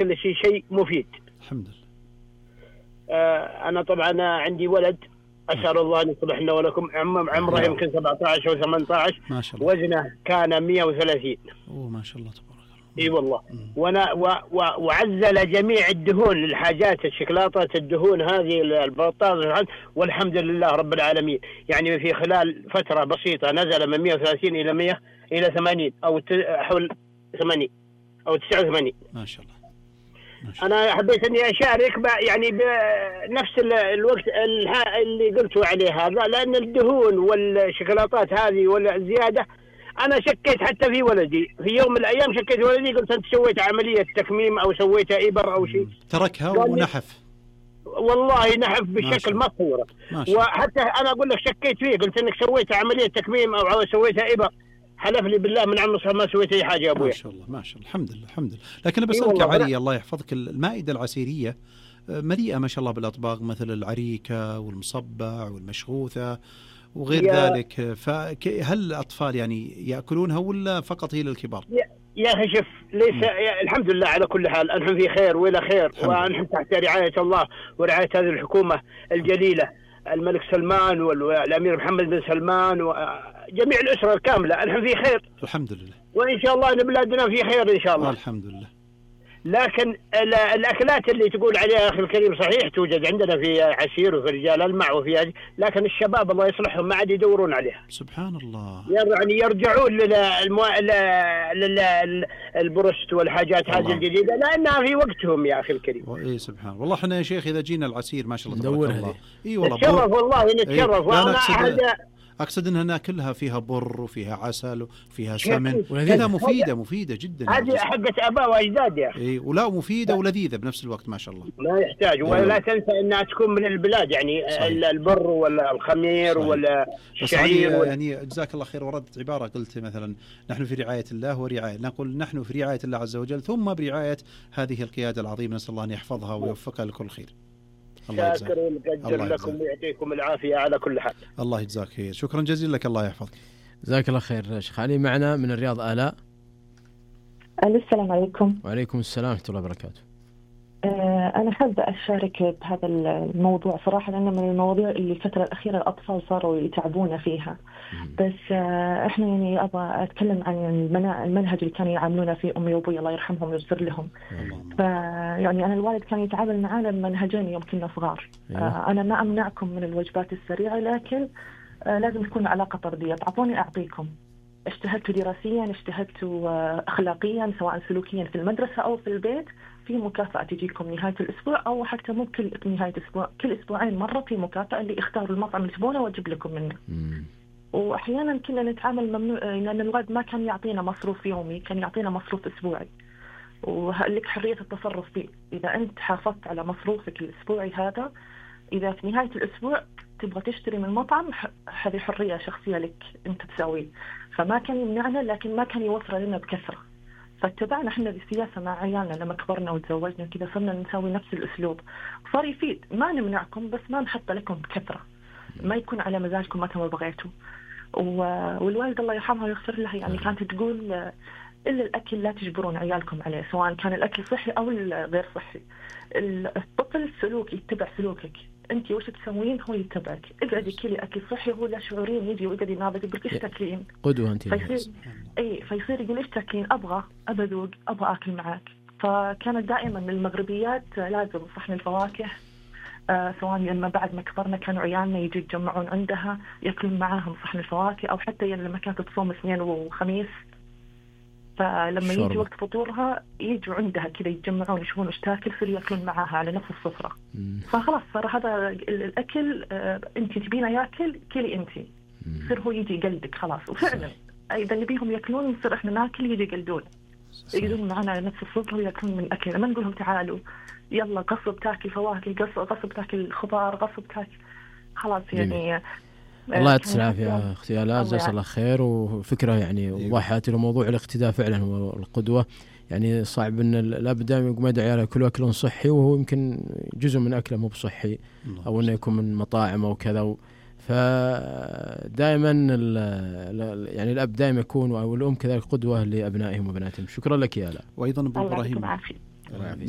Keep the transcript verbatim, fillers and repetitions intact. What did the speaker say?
كل شيء شيء مفيد الحمد لله. آه أنا طبعا عندي ولد أسأل الله أن يصلح لنا ولكم، عمره يمكن سبعة عشر أو ثمانية عشر، ما شاء الله. وزنه كان مئة وثلاثين. أوه ما شاء الله تبارك الله. اي والله. وانا و و وعزل جميع الدهون، الحاجات الشوكولاتات الدهون هذه البطاطا، والحمد لله رب العالمين. يعني في خلال فترة بسيطة نزل من مئة وثلاثين إلى مئة إلى ثمانين أو حول ثمانين أو تسعة وثمانين. ما شاء الله. أنا حبيت إني أشارك يعني بنفس الوقت اللي قلتوا عليه هذا، لأن الدهون والشوكولاتات هذه والزيادة أنا شكيت حتى في ولدي، في يوم من الأيام شكيت في ولدي، قلت أنت سويت عملية تكميم أو سويت إبر أو شيء. تركها ونحف. والله نحف بشكل ما تصوره. وحتى أنا أقول لك شكيت فيه، قلت إنك سويت عملية تكميم أو سويت إبر، حلف لي بالله من عم ما سويت أي حاجة يا أبوي. ما شاء الله ما شاء الله الحمد لله الحمد لله. لكن بسألك يا علي الله يحفظك، المائدة العسيرية مليئة ما شاء الله بالأطباق مثل العريكة والمصبع والمشغوثة وغير ذلك، فهل الأطفال يعني يأكلونها ولا فقط هي للكبار؟ يا أخي شوف ليس الحمد لله على كل حال، نحن في خير وإلى خير، ونحن تحت رعاية الله ورعاية هذه الحكومة الجليلة، الملك سلمان والأمير محمد بن سلمان وجميع الأسرة الكاملة، نحن في خير الحمد لله، وإن شاء الله بلادنا في خير إن شاء الله الحمد لله. لكن الأكلات اللي تقول عليها أخي الكريم صحيح توجد عندنا في عسير وفي رجال المع وفي هذه، لكن الشباب الله يصلحهم ما عاد يدورون عليها. سبحان الله. يعني يرجعون للبروست والحاجات هذه الجديدة لأنها في وقتهم يا أخي الكريم. إيه سبحان الله. والله احنا يا شيخ إذا جينا العسير ما شاء الله تبارك الله. إيه والله. نتشرف والله نتشرف. إيه وأنا أقصد أقصد أنها ناكلها فيها بر وفيها عسل وفيها سمن، وهذا مفيدة مفيدة جدا. هذه حقة آباء وأجداد يا أخي. إيه ولا مفيدة ولذيذة بنفس الوقت ما شاء الله. لا يحتاج ولا تنسى أنها تكون من البلاد يعني صحيح. البر ولا الخمير صحيح. ولا الشعير ولا... يعني جزاك الله خير. وردت عبارة قلت مثلا نحن في رعاية الله ورعاية، نقول نحن في رعاية الله عز وجل ثم برعاية هذه القيادة العظيمة، نسأل الله أن يحفظها ويوفقها لكل خير. شاكر ونقدر لكم ويعطيكم العافية على كل حال. الله يجزاك خير. شكرا جزيلا لك الله يحفظك. جزاك الله خير. شيخ علي معنا من الرياض آلاء. السلام عليكم. وعليكم السلام ورحمة الله وبركاته. أنا حابة أشارك بهذا الموضوع صراحة، لأنه من المواضيع اللي الفترة الأخيرة الأطفال صاروا يتعبون فيها. بس إحنا يعني أبغى أتكلم عن المنهج اللي كانوا يعاملونا فيه أمي وأبوي الله يرحمهم ويغفر لهم. فيعني أنا الوالد كان يتعامل معنا بمنهجين يوم كنا صغار. أنا ما أمنعكم من الوجبات السريعة، لكن لازم تكون علاقة طردية، تعطوني أعطيكم. اجتهدتوا دراسيا، اجتهدتوا أخلاقيا، سواء سلوكيا في المدرسة أو في البيت، في مكافأة تجيكم نهاية الأسبوع، أو حتى مو كل نهاية أسبوع، كل أسبوعين مرة في مكافأة اللي اختاروا المطعم اللي تبونه وأجيب لكم منه. مم. وأحيانا كنا نتعامل ممنوع، لأن الوالد ما كان يعطينا مصروف يومي، كان يعطينا مصروف أسبوعي، ولك حرية التصرف فيه. إذا أنت حافظت على مصروفك الأسبوعي هذا، إذا في نهاية الأسبوع تبغى تشتري من المطعم، هذه حرية شخصية لك أنت تسوي. فما كان يمنعنا، لكن ما كان يوفر لنا بكثرة. فاتبعنا احنا السياسة مع عيالنا لما كبرنا وتزوجنا كذا، صرنا نسوي نفس الأسلوب، صار يفيد. ما نمنعكم بس ما نحط لكم بكثرة، ما يكون على مزاجكم متى ما بغيتوا. والوالد الله يرحمها ويغفر لها يعني كانت تقول إلا الأكل لا تجبرون عيالكم عليه، سواء كان الأكل صحي أو غير صحي. الطفل سلوك يتبع سلوكك، أنت وش تسوين هو يتبعك. اقعدي كلي أكل صحي، هو لا شعورين يجي ويقعد ينابك يقول إيش تاكلين قدوة أنت. فيصير أي فيصير يقول إيش تاكلين، أبغى أبذوق أبغى أكل معاك. فكانت دائما من المغربيات لازم صحن الفواكه، آه سواء لما بعد ما كبرنا كانوا عيالنا يجي يتجمعون عندها يأكلون معاهم صحن الفواكه، أو حتى يعني لما كانت تصوم اثنين وخميس، فلما شرب. يجي وقت فطورها يجوا عندها كذا يتجمعون يشوفون ايش تاكل، يصير ياكلون معاها على نفس السفرة. فخلاص صار هذا الأكل آه أنت تبينه ياكل كلي أنت، يصير هو يجي يقلدك خلاص. وفعلا إذا نبيهم ياكلون نصير إحنا ناكل يجي يقلدون يقلدون معنا على نفس السفرة وياكلون من أكل. ما نقولهم تعالوا يلا غصب تاكل فواكه، غصب غصب تاكل خضار، غصب تاكل خلاص يعني. الله يعطيك العافية أختي آلاء، جزاك الله خير. وفكرة يعني وضحت له موضوع الاقتداء فعلا والقدوة. يعني صعب أن الأب دائما يقوم يدعي على كل أكل صحي وهو يمكن جزء من أكله مو بصحي، أو أنه يكون من مطاعم أو كذا. فدائما يعني الأب دائما يكون أو الأم كذلك قدوة لأبنائهم وبناتهم. شكرا لك يا آلاء. وأيضا أبو إبراهيم الله يعافيك.